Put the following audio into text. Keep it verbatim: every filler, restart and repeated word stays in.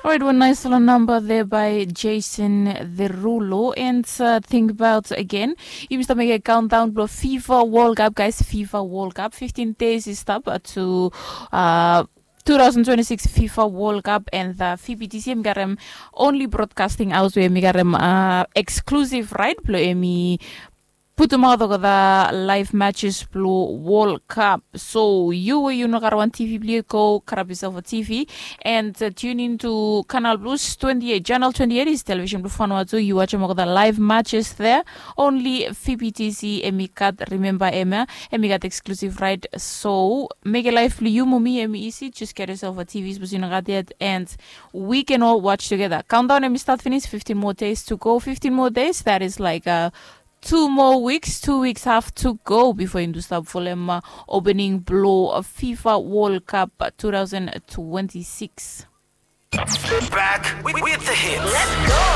Orait, wan nais long namba de bai Jason Derulo. And uh, think about again, yumi stap mekim countdown blong fifa world cup, guys. Fifa world cup, fifteen days i stap uh, to uh, two thousand twenty-six fifa world cup. And uh, fbtc em garem only broadcasting house we em garem uh, exclusive right blong em putumaot olgeta live matches blong World Cup. So yu we yu no gat wan T V blong yu, go grab yourself a T V and uh, tune in to Canal Plus twenty-eight. Channel twenty-eight is television blong Vanuatu. Yu watch olgeta live matches there. Only F B T C em i gat, remember em ya, em i gat exclusive right. So make a life blong yu mo mi em i easy. Just get yourself a T V, sapos yu no gat yet, and we can all watch together. Countdown em i start finish, fifteen more days to go. Fifteen more days, that is like uh, two more weeks, two weeks have to go before yumi stap folem uh, opening blong uh, fifa World Cup uh, two thousand twenty-six. Back with, with the hits.